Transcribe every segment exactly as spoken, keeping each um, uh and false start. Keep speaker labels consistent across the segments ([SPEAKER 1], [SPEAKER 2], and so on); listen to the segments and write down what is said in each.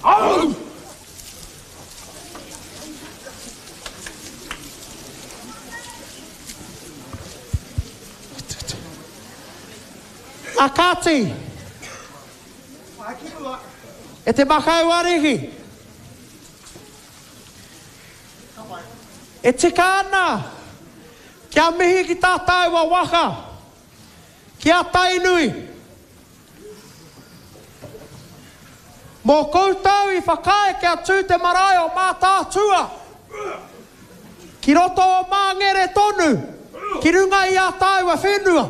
[SPEAKER 1] A kāti, e te makau ariki, e tika ana kia mihi ki tā tāua waka, ki a Tainui. Mō koutou i whakaae kia tū te marae o Mātaatua, ki roto o Māngere tonu, ki runga i a tāua whenua.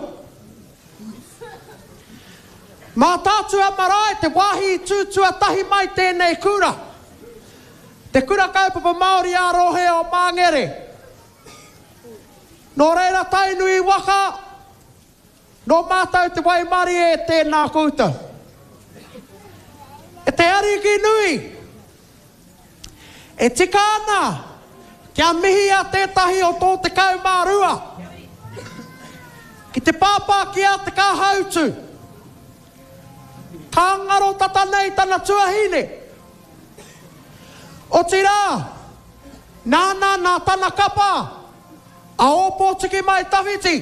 [SPEAKER 1] Mātaatua marae te wāhi i tū tuatahi mai tēnei kura. Te kura kaupapa Māori a rohe o Māngere. Nō reira Tainui waka, nō mātou te waimarie e tēnā koutou. E te ariki nui, e tika ana kia mihi a tētahi o tō tekau mā rua, ki te pāpā ki a Te Kāhautu, ka ngaro tata nei tana tuahine. Otirā, nāna nā tana kapa, a Ōpōtiki Mai Tawhiti,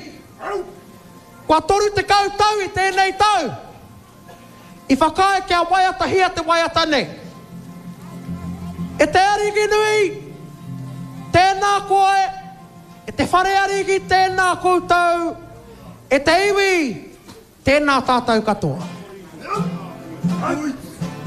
[SPEAKER 1] kua toru tekau tau i tēnei tau, i whakaae kia waiatahia te waiata nei. E te ariki nui, tēnā koe, e te whare ariki tēnā koutou, e te iwi, tēnā tātou katoa.
[SPEAKER 2] Ui.